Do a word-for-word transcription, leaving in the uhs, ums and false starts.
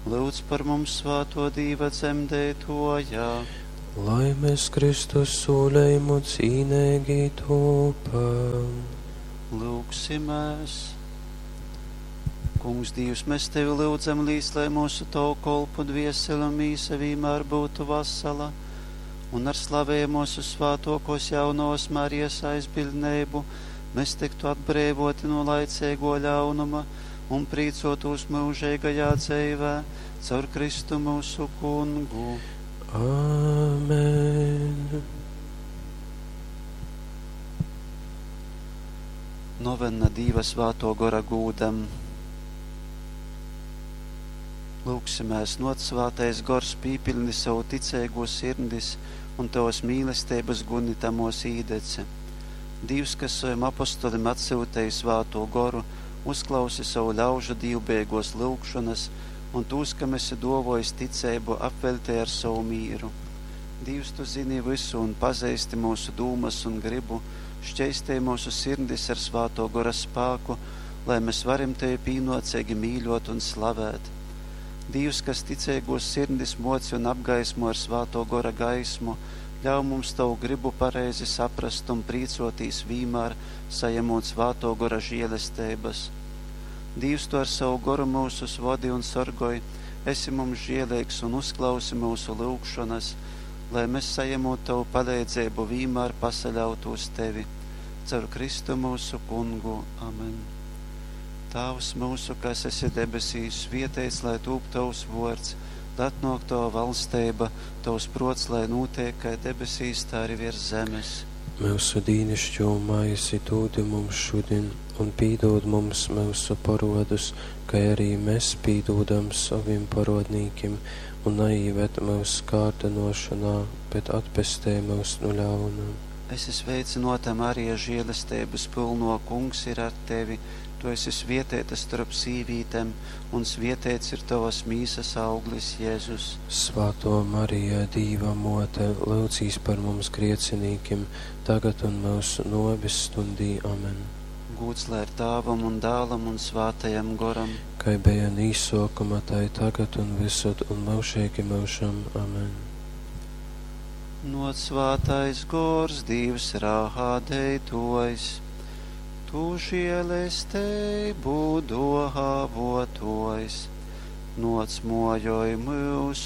Lūdz par mums svāto Dīva dzemdētoja. Lai mēs Kristus sūlējumu cīnīgi topam. Lūgsimies! Kungs, Dievs, mēs Tevi lūdzam līdz, lai mūsu tavu kolpu dvieseli un mīsa vienmēr būtu vasala, un ar slavējamo svētokos jaunos Marijas aizbildnību mēs tiktu atbrīvoti no laicīgo ļaunuma un prīcotos mūžīgajā dzīvē caur Kristu mūsu kungu. Amen. Novena Dīva svāto gora gūdam. Lūgsimēs, noc svātais gors pīpilni savu ticēgo sirdis un tavas mīlestības guni tamos īdece. Dievs, kas saviem apostolim atsūtīja svāto goru, uzklausi savu ļaužu dīvbēgos lūgšanas un tūs, kam esi dovojis ticēbu, apveļtē ar savu mīru. Dievs, tu zini visu un pazīsti mūsu dūmas un gribu, šķeistē mūsu sirdis ar svāto gora spāku, lai mēs varam tevi pīnocīgi mīļot un slavēt. Dievs, kas ticīgos sirdis moci un apgaismo ar svāto gora gaismu, ļauj mums tavu gribu pareizi saprast un prīcotīs vīmār, sajemot svāto gora žēlestības. Dievs, tu ar savu goru mūsus vodi un sorgoj, esi mums žēlīgs un uzklausi mūsu lūgšanas, lai mēs sajemot tavu palīdzību vīmār pasaļautu uz tevi. Caur Kristu mūsu kungu. Amen. Tēvs mūsu, kas esi debesīs, svietēts, lai tūp tavs vārds, lai atnāk tava valstība, tavs prots, lai notiek, kā debesīs, tā arī virs zemes. Mūsu dīnišķo maizi dod mums šodien, un pīdod mums mūsu parodus, kā arī mēs pīdodam saviem parodnīkiem, un neīved mūsu kārdinošanā, bet atpestē mūs no ļauna. Esi sveicināta, Marija, žēlestības pilno, kungs ir ar tevi. Tu esi svietēta starp sīvītēm, un svietēts ir tavas mīsas auglis, Jēzus. Svētā Marija, Dīva mote, lūdzīs par mums griecinīkiem, tagad un mūsu nobis stundī. Amen. Gūts lai ir Tēvam un Dēlam un Svētajam Goram. Kai bija nīsokuma, tai tagad un visur un mūžīgi mūžam. Amen. Noc svētais gors, Dievs rādītājs, tu žēlestību dāvātājs, noc mojoj mūs